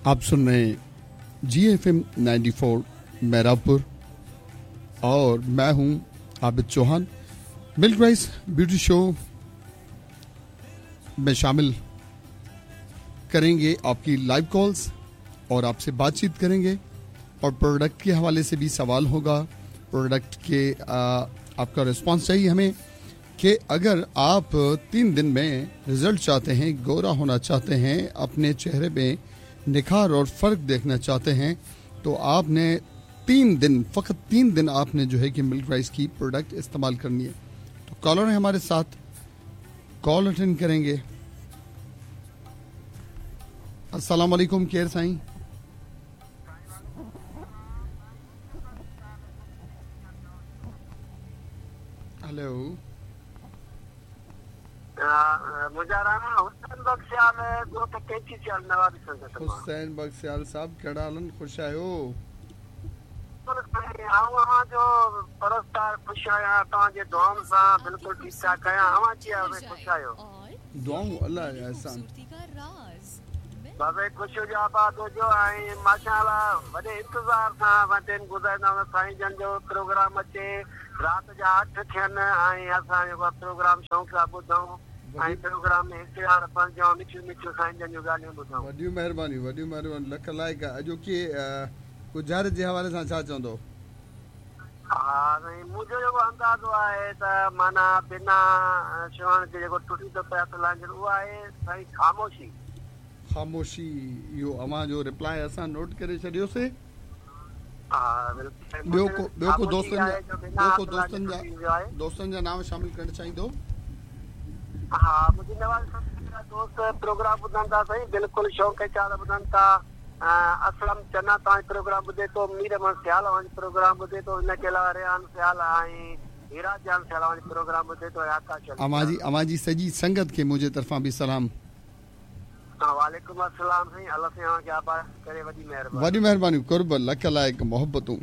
आप सुन रहे हैं जी F M 94 मेहराबपुर और मैं हूं Abid Chauhan. Milk rice beauty show में शामिल करेंगे आपकी लाइव कॉल्स और आपसे बातचीत करेंगे और प्रोडक्ट के हवाले से भी सवाल होगा। प्रोडक्ट के आपका रिस्पांस चाहिए हमें कि अगर आप 3 दिन में रिजल्ट चाहते हैं, गोरा होना चाहते हैं, अपने चेहरे में निखार और फ़र्क देखना चाहते हैं, तो आपने 3 दिन, फ़कत 3 दिन आपने जो है कि मिल्क राइस की प्रोडक्ट इस्तेमाल करनी है। तो कॉलर है हमारे साथ, कॉल अटेंड करेंगे। अस्सलाम वालेकुम केर साईं। हेलो। हुसैन बख्शियाल साहब कहिड़ा हाल आहिनि? ख़ुशि आहियो? आउं जो परस्तार ख़ुशि आहियां, तव्हांजे दुआउनि सां बिल्कुलु ठीकु ठाक आहियां। अव्हां कीअं ख़ुशि आहियो? दुआऊं अलाह जा एहसान। बाबा ख़ुशि हुजो, आबाद हुजो। ऐं माशाअल्लाह वॾे इंतज़ार सां असां टाइम गुज़ारींदा आहियूं। साईं जन जो प्रोग्राम अचे, राति जा 8 थियनि ऐं असां जेको प्रोग्राम शौक़ सां ॿुधूं ऐं प्रोग्राम में हिस्सेदार बणिजूं, मिठियूं मिठियूं साईं जन जूं ॻाल्हियूं ॿुधूं। वॾियूं महिरबानियूं, वॾियूं महिरबानियूं, लख लाइक़। अॼोकी गुज़ार जे हवाले सां छा चवंदो? हा साईं, मुंहिंजो जेको अंदाज़ो आहे त माना बिना छुअण जे जेको टुटी थो पए हथ लाइण, उहो आहे साईं ख़ामोशी। ख़ामोशी। इहो अव्हां जो रिप्लाई असां नोट करे छॾियोसीं। ॿियो को ॿियो को दोस्तनि जा नाम शामिल करणु चाहींदो? हा, मुंहिंजी नवाज़ दोस्त प्रोग्राम ॿुधनि था साईं, बिल्कुलु शौक़ चाह ॿुधनि था। असलम चना तव्हांजो प्रोग्राम ॿुधे थो, मीर अहमद सियाल अव्हांजो प्रोग्राम ॿुधे थो, इन जे अलावा रेहान सियाल ऐं हीरा जान सियाल अव्हांजो प्रोग्राम ॿुधे थो। आकाश अव्हांजी सॼी संगत खे मुंहिंजे तरफ़ां बि सलाम। वालेकुम अस्सलाम साईं, अल्लाह साईं अव्हांखे आबाद करे, वॾी महिरबानी। वॾियूं महिरबानियूं, कुर्ब, लख लाइक़, मोहब्बतूं।